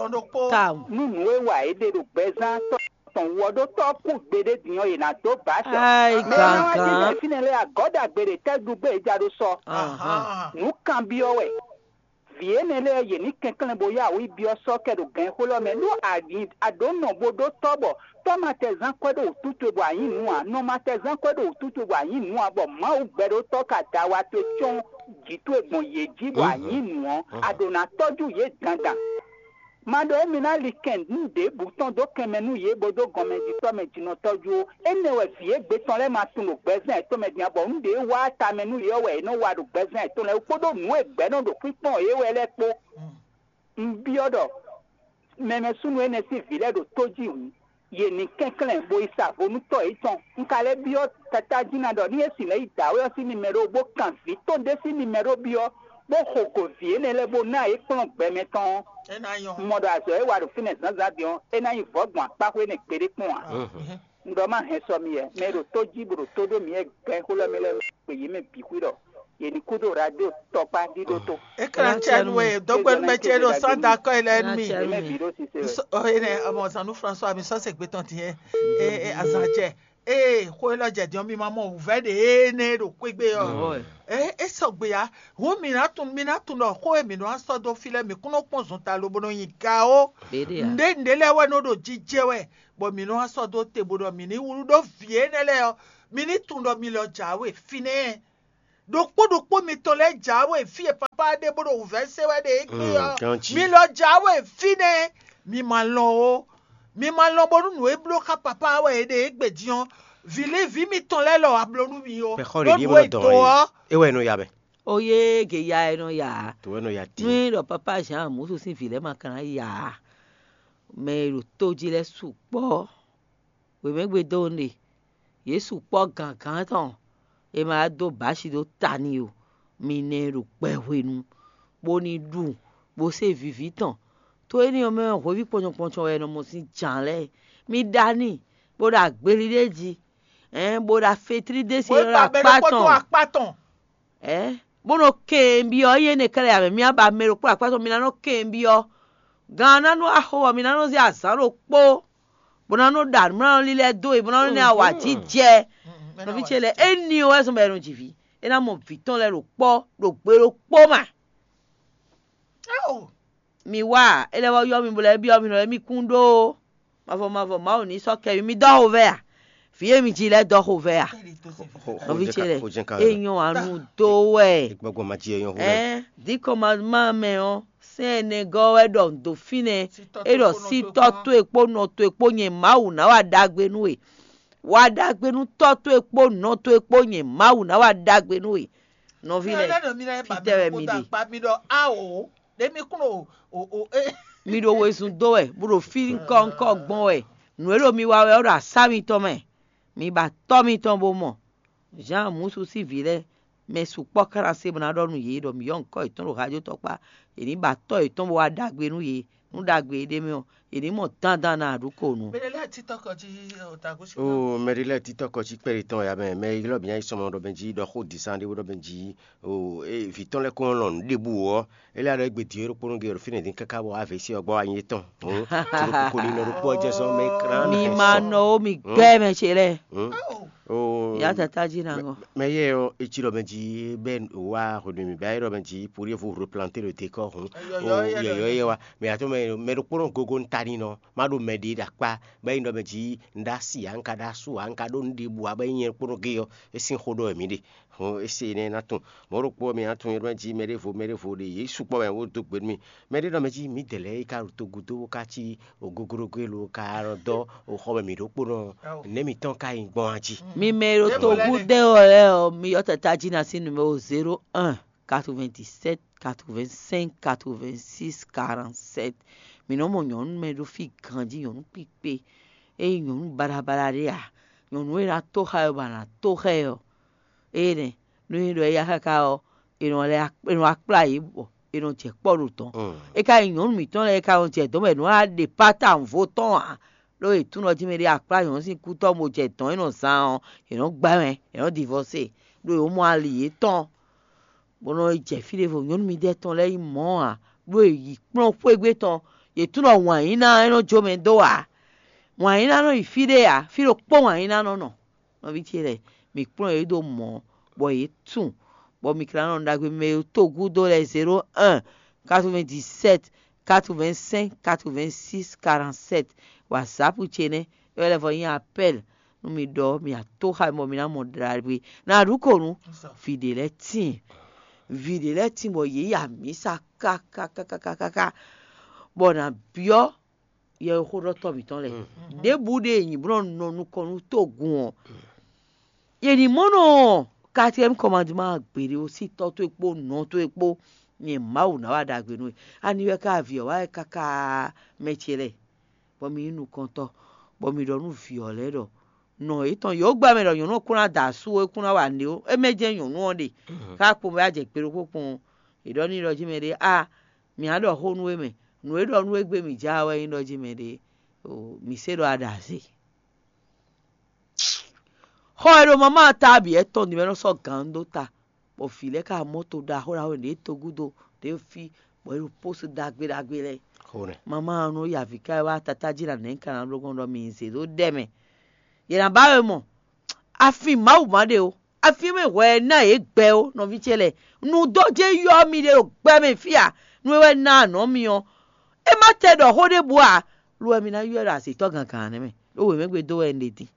Tawun. Nú nǔ e wa yě ɖe ɖo gbɛzán tɔn tɔn wú ɔ́ ɖó tɔ́ kú gbeɖé din ɔ́, yě ná dó bǎ sɔ. Ai, Mɛ e ná wá gǎngán. Jínjɔ́n fínɛ́ lɛ́ɛ agɔ̌ ɖagbe ɖě tɛ́ ɖu gbé è ja ɖó sɔ. Ahán. Nǔ kanbyɔ́ wɛ. Vǐ énɛ́ lɛ́ɛ yě ní kɛnklɛ́n bó yá wǔ yi byɔ́ sɔ́ kɛ ɖo gǎnxó lɛ́ɛ mɛ. Ɖó a ɖǒ nɔ bó ɖó tɔ́ bɔ tɔ́ ma tɛ zán kwɛ́ ɖó wǔtú towe bɔ a nyǐ nǔ ǎ, nɔ ma tɛ zán kwɛ́ ɖó wǔtú towe bɔ a nyǐ nǔ ǎ, bɔ Mawu gbɛɖótɔ́ ka da wa towe cɔ́n jǐ towe gbɔn yě jí bɔ a nyǐ nǔ ɔ́, a ɖǒ ná tɔ́jú yě dandan. Ma ɖɔ émí ná li kɛn nǔ ɖěbǔ tɔn dó kɛn mɛ nú yě bó dó gɔnmɛjitɔ́ mɛ jǐnɔtɔ́jú ó. Énɛ́ wɛ vǐ e gbe tɔn lɛ́ɛ ma tunwun ɖo gbɛzán yětɔn mɛ din ǎ, bɔ nǔ ɖě e wá tamɛ nú yě ɔ́ wɛ yě nɔ wa ɖo gbɛzán yětɔn lɛ́ɛ wú, kpódó nǔ e gbɛ̌ nɔ ɖo kpínkpɔ́n yě wɛ lɛ́ɛ kpó. Un byɔ́ ɖɔ mɛ mɛsúnnu énɛ́ sín vǐ lɛ́ɛ ɖo tó jí hǔn, yě ní kɛnklɛ́n bo yi sa vo nú tɔ́ yětɔn. Un ka lɛ́ byɔ́ Tatájína ɖɔ ní é sixú lɛ́ yi dǎwe ɔ́ sín nimɛɖó bó kan vǐ tɔn ɖé sín nimɛɖó byɔ́, bó xo go vǐ énɛ́ lɛ́ɛ bó ná yě kplɔ́n gbɛ mɛ tɔn ɔ́. É ná nyɔ́. Un mɔ ɖɔ azɔ̌ e wa ɖo fínɛ́ zǎnzǎn din ɔ́, é ná nyí vɔ̌ gbɔn akpá xwé énɛ́ gbeɖé kpɔ́n ǎ. Un ɖɔ má hɛn sɔ mi wɛ, mɛ e ɖo tó jí bó ɖo tó ɖó mǐ wɛ gɛ́n xó lɛ́ɛ mɛ lɛ́ɛ kpe yě mɛ bǐ xwí ɖɔ yě ní kúdó radio tɔkpá ɖíɖó tó. É ka ná cɛ nú we, dɔgbe nú mɛ ce ɖo sɔ́ da kɔ́ yi lɛ nú mi. Yě mɛ bǐ ɖó sise wɛ. Ɔ énɛ́, ọmọ zan nú François mi sɔ́ se gbé tɔn tiɛ. E e azan jɛ. Ée xó élɔ́ jɛ din ɔ́, mi ma mɔ wǔvɛ́ ɖě énɛ́ e ɖo xwé gbe ɔ́. Ɔ́. É é sɔgbe ǎ. Hǔn mi ná tunwun mi ná tunwun ɖɔ xó e mǐ nɔ wá sɔ́ dó fí lɛ́ɛ, mǐ kún nɔ kpɔ́n zɔn ta lobo nɔ nyi ga ó. Ɖěɖě ǎ. Nǔɖé nǔɖé lɛ́ɛ wɛ nɔ ɖo jijɛ wɛ, bɔ mǐ nɔ wá sɔ́ dó te bó ɖɔ mǐ ní wlú ɖó vǐ énɛ́ lɛ́ɛ ɔ́, mi ní tunwun ɖɔ mi lɔ jǎwe fínɛ́. Ɖokpó ɖokpó mitɔn lɛ́ɛ jǎwe fí e papá ɖe bó ɖo wǔvɛ́ se wɛ ɖe égbé ɔ́, mi lɔ jǎwe fínɛ́. Mi ma lɔn ó. Mi ma lɔn bónú nǔ e bló xá papá wɛ è ɖe égbé din ɔ́, vǐ lí vǐ mitɔn lɛ́ɛ lɔ wá bló nú mi ó. Mɛ xɔ ɖě ɖíe mɔ dɔn ɔ́, é wɛ nɔ ya mɛ. Ó yé ge ya ɛ nɔ ya ǎ. Tó wɛ nɔ ya Nú dín. É ɖɔ papá Jean Musu sín vǐ lɛ́ɛ ma ka ná ya ǎ, mɛ e ɖo tó jí lɛ́ɛ sukpɔ́. Wěmɛgbe dó un ɖe, yě sukpɔ́ gǎngán tɔn, è ma wá dó bǎ shi dó ta n'i ó. Mi nɛ e ɖo gbɛ hwenu, bó ní ɖu, bó se vǐví tɔn. To énɛ́ ɔ́ mɛ wɛ hweví kpɔ́njɔkpɔ́njɔ wɛ è nɔ mɔ sín jǎn lɛ́ɛ. Mi ɖa n'i, bó ɖo agbeli ɖé jí, ɛ̌n, bó ɖo afetlí ɖé se Wěgbá lɔ mɛ akpá ɖokpó tó tɔn. Akpá tɔn. Ɛ̌, bó nɔ kɛnbyɔ́ yé nɛ́ kɛ́ɖɛ́ ǎ mɛ, mì ba mɛ ɖokpó akpá tɔn, mi ná nɔ kɛnbyɔ́. Gan ɔ́ ná nú axo ɔ́, mi ná nɔ zé azǎn ɖokpó, bó ná nɔ ɖa nǔmlánɔ lílɛ́ dó e, bó ná nɔ ná awǎjijɛ. Nɔví ce lɛ́ɛ, éni ɔ́ wɛ zɔ́n bɔ è nɔ ji vǐ. É ná mɔ vǐ tɔn lɛ́ɛ ɖo kpɔ́, ɖo gbe ɖokpó mɛ. Mi wá, é lɛ́ wá yɔ́ mi, bó lɛ́ byɔ́ mi, nɔ lɛ́ mi kún ɖó. Mavɔ mavɔ Mawu ní sɔ́ kɛ mi, mi dɔ́ xovɛ́ a? Vǐ e mi ji lɛ́ɛ dɔ́ xovɛ́ a? Nɔví ce lɛ́ɛ, é nyɔ́ wǎ nú dó wɛ. Gbɔgbɔ ma ji é nyɔ́ xo lɛ́ɛ. Ɛn, díkɔn ma ma mɛ ɔ́, sɛ́n ɛnɛ gɔ́ wɛ ɖɔ un dó fínɛ́. É ɖɔ sí tɔ́ towe kpó nɔ towe kpó nyɛ Mawu ná wa ɖagbe nú we. Wa ɖagbe nú tɔ́ towe kpó nɔ towe kpó nyɛ Mawu ná wa ɖagbe nú we. Nɔví lɛ́ɛ, fítɛ́ wɛ mi ɖe? Mi ɖo wezun dó wɛ, bó ɖo fí ŋkɔ́ ŋkɔ́ gbɔn wɛ. Nǔ e ɖo mi wa wɛ ɔ́ ɖo asá mitɔn mɛ. Mi ba tɔ́ mitɔn bó mɔ. Jean Musu sín vǐ lɛ́ɛ, mɛ sukpɔ́ ká ná se bó ná ɖɔ nú yě ɖɔ mǐ yɔ́ ŋkɔ́ yětɔn ɖo hajó tɔkpá. Yě ní ba tɔ́ yětɔn bó wá ɖagbe nú yě. Nú ɖagbe e ɖ'é mɛ ɔ́, yě ní mɔ dandan ná ɖu ko nú. Mɛɖé lɛ́ɛ títɔ́ kɔ jí o tago sí. O mɛɖé lɛ́ɛ títɔ́ kɔ jí kpɛɖé tɔn ya mɛ, mɛ ylɔ́ bǐ nyi sɔmɔ ɖɔ bɛn jí, ɖɔ xó dǐsán ɖé bó ɖɔ bɛn jí. O vǐ tɔn lɛ́ɛ kɔn lɔn nǔ ɖěbǔ ɔ́, é lɛ́ ɖɔ égbé din é ɖokpónɔ gé ɖo fínɛ́ dín káká bɔ wá vě sí ɔ́ gbɔ wá nyi étɔn. Todokoko ní nɔ ɖokpó ɔ́ jɛ zɔn mɛ klán. Mi ma nɔ ó, mi gbɛ́ mɛ ce lɛ́ɛ. Ya tata jí na ŋɔ. Mɛ yɛ ɔ́, etsi ɖɔ mɛ jí bɛ wá hwenu mi bɛ ayé ɖɔ mɛ jí pour yɛ vo replanter le décor hɔn. Yɔyɔ yɛ wa. Mɛ atɔ mɛ mɛ ɖokpónɔ gogo ntani nɔ. Má ɖo mɛ ɖě ɖo akpá bɔ é nyí ɖɔ mɛ jí un ɖó asi ǎ, un ka ɖó asú ǎ, un ka ɖó nǔɖiɖi ǎ, bɔ é nyí nyɛ kpónɔ gé ɔ́, é sín xó ɖɔ wɛ mǐ ɖe. Hɔn é se énɛ́ ná tunwun. Mɔ̌ ɖokpó ɔ́, mǐ ná tunwun é ɖɔ mɛ jí mɛ ɖěvo mɛ ɖěvo ɖe yě sukpɔ́ wɛ wó dó gbe nú mì. Mɛ ɖé ɖɔ mɛ jí mǐ dɛ lɛ́ɛ é ka ɖo togun dó bó ka cí goglogo e lo ka nɔ dɔ́ xɔ mɛ mǐ ɖokpónɔ ɔ́, nɛ̌ mǐtɔn ka nyí gbɔn a jí? Mi mɛ e ɖo togun dɛ ɔ́ lɛ́ɛ ɔ́, mi yɔ tata jí ná sín numéro zéro un quatre-vingt-dix-sept quatre-vingt-cinq quatre-vingt-six quarante-sept. Mǐ nɔ mɔ nyɔ̌nu mɛ ɖó fí ganjí, nyɔ̌nu kpíkpé. Ényí nyɔ̌nu baɖabaɖa ɖé a, nyɔ̌nu e ná tó xá ɛ bɔ a nǎ tó xá ɛ ɔ́, ée nɛ́, nú é ɖɔ éyá káká ɔ́, è nɔ lɛ́ è nɔ wá kplá yě bɔ è nɔ jɛ kpɔ́ ɖo dɔ̌n. É ka nyí nyɔ̌nu mǐtɔn lɛ́ɛ e ka nɔ jɛ dɔ̌n bɔ è nɔ wá ɖe pátá vo tɔn ǎ, ɖó è tún nɔ jí mɛ ɖé akplá nyɔ̌nu sín kú tɔn bó jɛ dɔ̌n e nɔ zán ɔ́, è nɔ gbá mɛ, è nɔ divɔse, ɖó è mɔ ali yětɔn. Bó nɔ yi jɛ fí ɖěvo, nyɔ̌nu midɛɛ tɔn lɛ́ɛ nyí mɔ̌ ǎ, ɖó è yi kplɔ́n xwé gbe tɔn, yě tunwun ɖɔ wǎn yí ná é nɔ jó mɛ dó ǎ. Wǎn yí ná nɔ yi fí ɖé ǎ, fí ɖokpó wǎn yí ná nɔ nɔ. Nɔví ce lɛ́ɛ, mǐ kplɔ́n yě ɖó mɔ̌, bɔ yě tunwun, bɔ mǐ ka ná nɔ ɖagbe mɛ e to gúdo lɛ́ɛ zéro un quatre-vingt-dix-sept quatre-vingt-cinq quatre-vingt-six quarante-sept. WhatsApp ce nɛ́, é wɛ lɛ́ vɔ nyí apɛ́l nú mi ɖɔ mi atóxa bɔ mi ná mɔ ɖagbe. Ná ɖu ko nú vǐ ɖé lɛ́ɛ tíin. Vǐ ɖé lɛ́ɛ tíin bɔ yě yi amǐsa káká bɔ nǎ byɔ́ yɛxóɖɔtɔ́ mǐtɔn lɛ́ɛ. Ɖěbǔ ɖe è nyi bó nɔ nɔ nukɔn nú tógun ɔ́, yě ní mɔ nɔ quatrième commandement gbeɖé ó, sí tɔ́ towe kpó nɔ towe kpó, nyɛ Mawu ná wa ɖagbe nú we. Ani wɛ ká vǐ ɔ́ wá wɛ káká mɛ ce lɛ́ɛ, bɔ mi nyí nukɔntɔ́, bɔ mi ɖɔ nú vǐ ɔ́ lɛ́ɛ ɖɔ nɔ yětɔn yǒ gbɛ mɛ ɖɔ nyɔ̌nu ɔ́ kún ná da asú ó, é kún ná wa nǔɖé ó, é mɛ jɛ́n nyɔ̌nu ɔ́ ɖe. Ká kpɔ́n bɔ é wá jɛ gbe ɖokpó kpɔ́n ɔ́, è ɖɔ n'i ɖɔ jí mɛ ɖé a mǐ á ɖɔ xó nú we mɛ, nǔ e ɖɔ nú we gbé mǐ ja wɛ nyí ɖɔ jí mɛ ɖé. Mǐ se ɖɔ a ɖo azě. Xɔ e ɖo mama ta bǐ wɛ tɔn din wɛ nɔ sɔ́ gǎn dó ta, bɔ vǐ lɛ́ɛ ka mɔ́ to ɖaxó ɖaxó ɖě to gúdo ɖě fí, bɔ é ɖo pósu ɖagbe ɖagbe lɛ́ɛ. Mama ɔ́ nɔ yi avǐ ká wá tatá jí ɖo anɛ̌ ka ná bló gbɔn ɖɔ mǐ zě ɖó ɖɛ mɛ. Yě ná ba we mɔ, Afin Mawu ma ɖe o, afin e mɛ hwɛ ná yě gbɛ ó, nɔví ce lɛ́ɛ. Nǔ dó jɛ́n ylɔ́ mi ɖe ɖo gbɛ mɛ fí a? Nú é wɛ ná anɔ̌ mi ɔ́, é má tɛ ɖɔ xó ɖěbǔ ǎ, lo wɛ mi ná ylɔ́ ɛ ɖo azǐtɔ́ gangǎn nɛ́ mɛ, ɖó wěmɛgbé dó wɛ un ɖe din.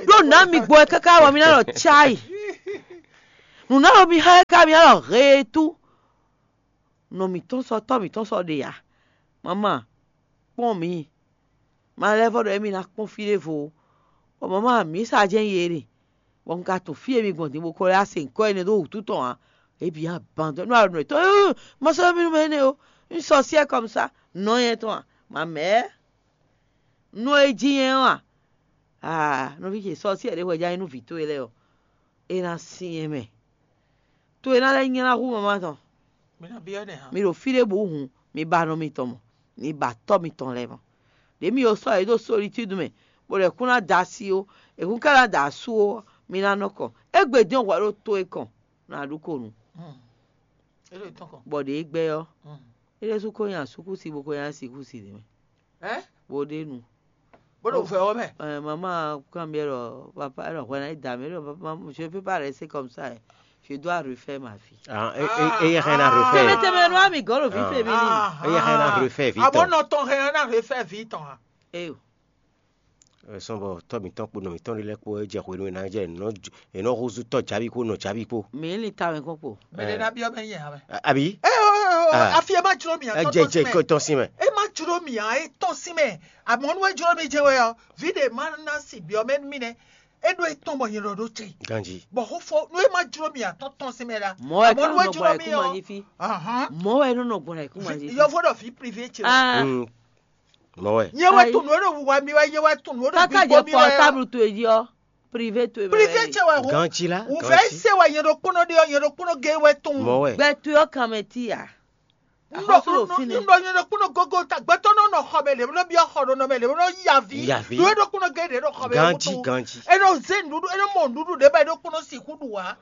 Ɖó nǎ mi gbɔ ɛ káká bɔ mi ná ɖɔ cáyi. Nǔ ná ɖo mi xá ɛ ká mi ná ɖɔ heetú. Nɔ mǐtɔn sɔ́ tɔ́ mǐtɔn sɔ́ ɖe ǎ. Mama, kpɔ́n mǐ. Ma lɛ́ vɔ́ ɖɔ émí ná kpɔ́n fí ɖěvo ó. Bɔ mama, mǐ sa jɛ́n yi é ɖe. Bɔ un ka tunwun fí e mi gbɔn din bó ko lɛ́ se nyǐkɔ énɛ́ dó wǔtu tɔn ǎ. É bǐ aban dɔ́ nú alɔ nú yětɔn. Éeé, ma sɔ́ mì nú mɛ énɛ́ ó. Un sɔ́ syɛ́ kɔmisa. Nɔ nyɛ tɔn a? Ma mɛ̌. Nú é jí nyɛ ɔ́ a? Aa, nɔví ce, sɔ́ syɛ́ ɖě hwɛ ján nyí nú vǐ towe lɛ́ɛ ɔ́, é ná syɛ́n mɛ. To e ná lɛ́ nylá hú mama tɔn. Mi ná byɔ́ nɛ hǎn. Mi ɖo fí ɖěbǔ hǔn, mi ba nɔ mitɔn mɔ, mi ba tɔ́ mitɔn lɛ́ɛ mɔ. Ɖě mi ko sɔ́ yě ɖo solitúdu mɛ, bó lɛ́ kún ná da asi ó, è kún ka ná da asú ó, mi ná nɔ kɔn. Égbé dín hwɛ ɖó to e kɔn, ná ɖu ko nu. É ɖo tɔn kɔn. Bɔ ɖě gbɛ ɔ́, é ɖésú ko nyi asúkúsi bó ko nyi asíkúsi ɖě mɛ. Ɛ? Bó ɖe nu. Bó ɖo vɛ ɔ́ mɛ. Ɛ, maman kanbyɔ́ ɖɔ papa, ɖɔ hwɛ ná yi da mɛ ɖɔ papa, je peux pas rester comme ça. Je dois refaire ma vie. Ah, e e e yɛ hɛn na refaire. Tɛmɛ tɛmɛ nɔ ami gɔlo vi fɛ mi ni. E yɛ hɛn na refaire vi. Abo tɔn. Nɔ tɔn hɛn na refaire vi tɔn a. Eyo. Sɔn bɔ tɔ mǐtɔn kpo nɔ mǐtɔn ɖe lɛ́ɛ kpo e jɛ hwenu e ná jɛ nɔ e nɔ húzú tɔ jabi kpo nɔ jabi kpo. Mi ni ta wɛ kɔn kpo. Mɛ ɖe ná byɔ́ mɛ nyɛ hã mɛ. Abi? Ɛ o ɛ o. Afi e ma jló mi ɛ tɔn tɔn sin mɛ. Tɔn sin mɛ. E ma jló mi a e tɔn sin mɛ. Amɔnu e jló mi jɛ wɛ ɔ, vi ɖe ma na si byɔ́ mɛ mi nɛ. E ɖo e tɔn bɔ nyɛ ɖɔ ɖo ce. Ganji. Bɔ xó fɔ nu e ma jló mi a tɔn tɔn sin mɛ la. Mɔ ɛ Amɔnu e jló mi ɔ. Mɔ ɛ nɔ nɔ gbɔn ɛ kú ma jí. Yɔvo ɖɔ vi privé ce. Ah. Mɔ wɛ. Nyɛ wɛ tunnu ɖo wiwa mi wɛ, nyɛ wɛ tunnu ɖo gbigbo mi wɛ. Káká jɛ pɔtáblu towe jí ɔ, privé towe mɛ. Privé ce wɛ hu. Ganci la. Wuvɛ se wɛ nyɛ ɖo kpɔnɔ ɖe ɔ, nyɛ ɖo kpɔnɔ ge wɛ tunnu. Mɔ wɛ. Gbɛ towe ɔ kan mɛ ti ya. N ɖɔ n ɖɔ nyɛ ɖo kpɔnɔ gogo ta gbɛtɔ nɔ nɔ xɔ mɛ lɛ, nɔ biɔ xɔ ɖo nɔ mɛ lɛ, nɔ yavi. Yavi. Ɖo ɖo kpɔnɔ ge ɖe ɖo xɔ mɛ. Ganci ganci. E nɔ ze nuɖuɖu, e nɔ mɔ nuɖuɖu ɖe ba e ɖo kpɔnɔ si ku ɖu wa.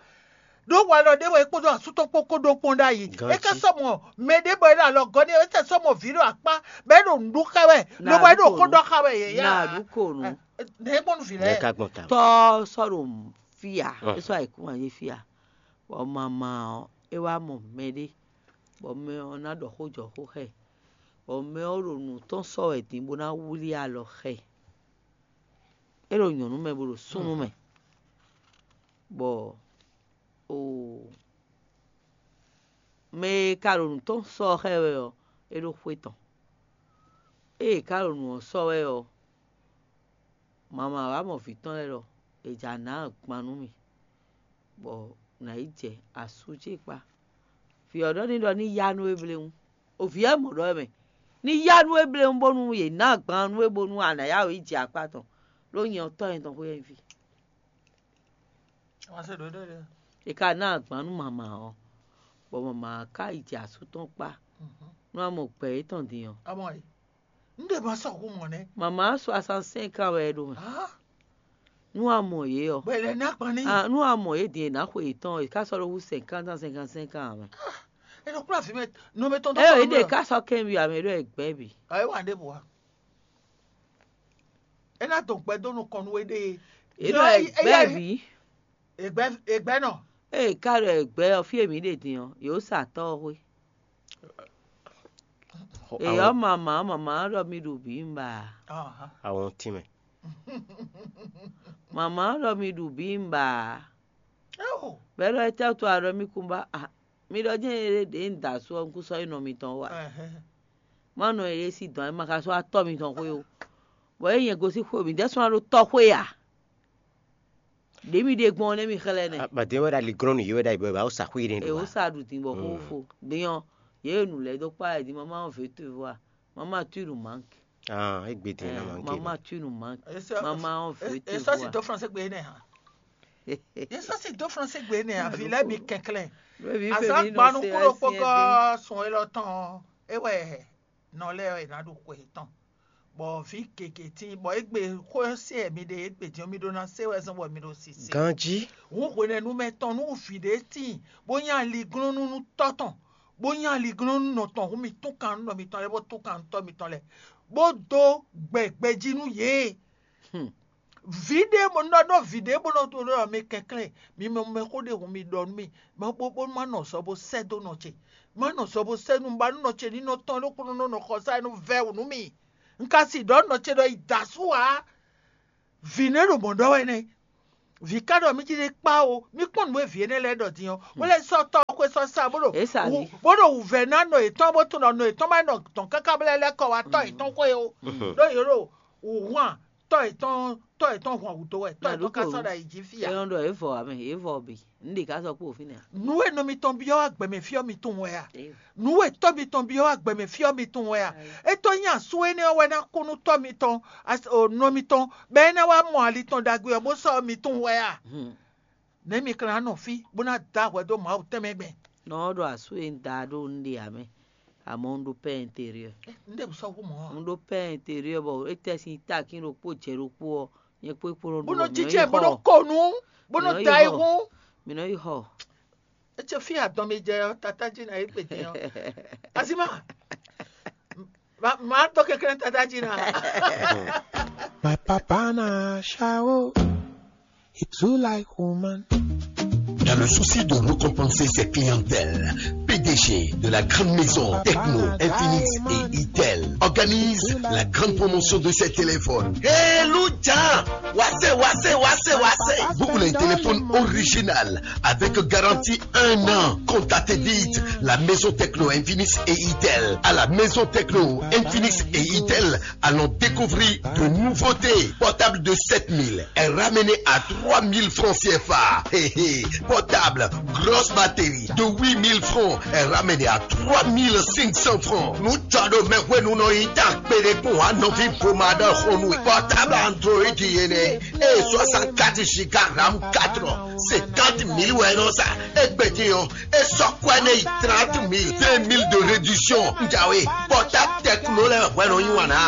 Ɖó walɔ ɖé wɛ é kpódó asú tɔn kpó kó ɖó kpɔ́n ɖ'ayǐ. É ká sɔ́ mɔ mɛ ɖé bɔ é ɖo alɔ gɔ́ n'i, é sɔ́ mɔ vǐ ɖo akpá, bɔ é ɖo nǔɖuɖu xá wɛ, lobo é ɖo xó ɖɔ xá wɛ yě yá. Nǎ ɖu kǒ nú. Nɛ̌ gbɔn nú vǐ lɛ́ɛ? Nɛ̌ ka gbɔn ta? Tɔ́ sɔ́ ɖo fí ǎ, é sɔ́ ayǐkúngban yé fí ǎ, bɔ mama ɔ́, é wá mɔ mɛɖé, bɔ mɛ ɔ́ ná ɖɔ xó jɔ xó xá ɛ, bɔ mɛ ɔ́ ɖo nǔ tɔn sɔ́ wɛ din bó ná wlí alɔ xá ɛ. É ɖo nyɔ̌nu mɛ bó ɖo súnnu mɛ, bɔ oo, mɛ e ka ɖo nǔ tɔn sɔ́ xá ɛ wɛ ɔ́, é ɖó xwé tɔn. Ée è ka ɖo nǔ ɔ́ sɔ́ wɛ ɔ́, mama wá mɔ vǐ tɔn lɛ́ɛ ɖɔ è jǎ ná agban nú mì, bɔ nǎ yi jɛ asú ce kpá. Vǐ ɔ́ ɖɔ n'i ɖɔ ní yá nú we bléwún. O vǐ ɔ́ mɔ ɖɔ wɛ mɛ, ní yá nú we bléwún bónú yě ná agban nú we bónú a nǎ yá wě yi jɛ akpá tɔn, ɖó nyɛ ɔ́ tɔ́ nyɛ tɔn xwé wɛ nyí fí. Wá se ɖǒ ɖó ɖe. È ka ná agban nú mama ɔ́, bɔ mama ɔ́ ka yi jɛ asú tɔn kpá. Nú a mɔ gbɛ yětɔn din ɔ́, Amɔ yi. N ɖe ma sɔ hu mɔ nɛ. Mama ɔ́ soixante-cinq ans wɛ é ɖo mɛ. Ah, Nú a mɔ yě ɔ́, bɔ è lɛ ná agban ní. Ah, nú a mɔ yě din è nǎ xwe yětɔn, è ká sɔ́ ɖó hú cinquante ans, cinquante-cinq ans ǎ mɛ. È nɔ kplá vǐ mɛ nɔ mɛ tɔn dó Ɛ kɔ yě nú ɖe mɛ. Ká sɔ́ kɛ́n byɔ́ ǎ mɛ, é ɖɔ è gbɛ́ bǐ. Ɔ é wa ɖěbǔ a. É ná dɔn gbɛ dó nukɔn nú we ɖée. È ɖɔ è gbɛ́ bǐ. Ègbɛ ègbɛ nɔ. Ée ká ɖɔ è gbɛ́ ɔ́, fí e mǐ ɖe din ɔ́, yě ó sa tɔ́ ɔ́ xwé. Èyɔ́ mama ɔ́, mama ɔ́ ɖɔ mi ɖu bǐ un ba ǎ. Ahɔn tínmɛ. Mama ɔ́ ɖɔ mi ɖu bǐ un ba ǎ. Bɛ̌ ɖɔ étɛ́ wútu a ɖɔ mì kún ba a? Mi ɖɔ jɛ́n é ɖě un da asú ɔ́, un kún sɔ́ yi nɔ mitɔn wú a? Má nɔ e yě sí dɔn ɛ ma ka sɔ́ atɔ́ mitɔn xwé ó. Bɔ é nyɛ gosín xwé mǐ dɛ́ sɔ́ ná ɖó tɔ́ xwé a? Ɖě mi ɖe gbɔn ɔ́ nɛ́ mi xlɛ́ nɛ́. Bàdé wɛ ɖo aliglɔ́nnu yě wɛ ɖo ayǐ bɔ è ba wó sa xwé ɖé ɖo. È wó sa ɖu din bɔ xó fo. Din ɔ́, yě e nǔ lɛ́ɛ dó kpá wɛ din, mama ɔ́ vě towe vɔ a? Mama tu nu mank. Ah, égbé din na mank. Mama tu nu mank. Mama ɔ́ vě towe vɔ a? Esɔ si dó français gbe nɛ ha. Esɔ si dó français gbe nɛ ha. Vi lɛ mi kɛnklɛn. Azan gbanu kúrò kpɔkɔ sùn elɔ tɔn. Ewɛ nɔ lɛ ɛ na ɖo xwe tɔn. Bɔ vǐ gěgé tíin, bɔ égbé xó se mi ɖe égbé din ɔ́, mi ɖó ná se wɛ zɔn bɔ mi ɖo sisi. Ganjí. Hǔn hwenɛ́nu mɛ tɔn nú vǐ ɖé tíin, bó nyí aliglɔ́nú nú tɔ́ tɔn, bó nyí aliglɔ́nú nɔ tɔn, hǔn mi tún kan nú nɔ mitɔn lɛ́ɛ, bó tún kan nú tɔ́ mitɔn lɛ́ɛ, bó dó gbɛ gbɛjí nú yě. Vǐ ɖé bó nɔ ɖɔ vǐ ɖé bó nɔ ɖɔ mɛ kɛnklɛ́n, mi mɛ mɛ xó ɖé hun mi ɖɔ nú mì, ma bó bó ma nɔ zɔ bó sɛ́ dó nɔ ce, ma nɔ zɔ bó sɛ́ nú ba nú nɔ ce ní nɔ tɔn ɖokpónɔ nɔ nɔ xɔ sá nú vɛ́ wǔ nú mì. Un ka si ɖɔ nɔ ce ɖɔ yi da asú ǎ. Vǐ nɛ́ ɖo mɔ̌ ɖɔ wɛ nɛ́. Vǐ ka ɖɔ mí cí ɖé kpá o, mí kpɔ́n nǔ e vǐ énɛ́ lɛ́ɛ ɖɔ din ɔ́, bó lɛ́ sɔ́ tɔ́ xwé sɔ́ sa bó ɖo Ě sa wǔ- lí. Bó ɖo wǔvɛ́ ná nɔ yětɔn bó tunɔ nɔ yětɔn má nɔ dɔn káká bó lɛ́ lɛ́ kɔ wá tɔ́ yětɔn xwé o. Ɖó yě ɖo wǔhwan tɔ́ yětɔn tɔ́ yětɔn hwan wǔ dó wɛ, tɔ́ yětɔn ka sɔ́ ɖo ayǐ jí fí ǎ. É nɔ ɖɔ é vɔ ǎ mɛ, é vɔ bǐ. Un ɖe ká sɔ́ kpó fínɛ́ ǎ. Nǔ e nɔ mitɔn byɔ́ wá gbɛmɛ fí ɔ́ mi tunwun wɛ a? Nǔ e tɔ́ mitɔn byɔ́ wá gbɛmɛ fí ɔ́ mi tunwun wɛ a? É tɔ́ nyí asú énɛ́ ɔ́ wɛ ná kú nú tɔ́ mitɔn, as- o, nɔ mitɔn, bɔ é ná wá mɔ ali tɔn ɖagbe ɔ́ bó sɔ́ mi tunwun wɛ a? Nɛ̌ mi ka ná nɔ fí bó ná dó ahwɛ dó Mawu tɛnmɛ gbɛn? Nɔ ɔ́ ɖo asú e un da ɖó un ɖe ǎ mɛ, amɔ̌ un ɖó pɛ́ intérieur. Un ɖe bǔ sɔ́ hú mɔ̌ ǎ. Un ɖó pɛ́ intérieur bɔ é tɛ́ sín takín ɖokpó jɛ ɖokpó ɔ́, nyɛ kpó é kpó nɔ Bó ɖu nɔ bɔ mǐ nɔ jijɛ yi bó nɔ xɔ. Ko nǔ, bó Mǐ nɔ nɔ yi da xɔ. Ayihún. Mǐ nɔ yi xɔ. Ece fí adɔn mi jɛ ɔ́, tata jí na yí gbe din ɔ́. Azima, ma ma tɔ kɛkɛ tata jí na. My papa na shower. He too like woman. Dans le souci de récompenser ses clientèles, P D G de la grande maison Techno, Infinix et Itel organise la grande promotion de ses téléphones. Hey, Lucha! Wasé, wasé, wasé, wasé! Vous voulez un téléphone original avec garantie un an? Contactez vite la maison Techno, Infinix et Itel. À la maison Techno, Infinix et Itel, allons découvrir de nouveautés. Portable de sept mille est ramené à trois mille francs C F A. Hé, hé. Portable, grosse batterie de huit mille francs est ramené à trois mille cinq cents francs. Nous tchado me hwe nous no ita péré pour un novi pour madame Portable Android yene et soixante-quatre giga RAM quatre, cinquante mille wɛ nɔ sa. Egbedin o, e sɔ kwɛ ne yi trente mille, vingt mille de réduction. Njawe, portable Techno lɛ hwɛ nɔ yi wana.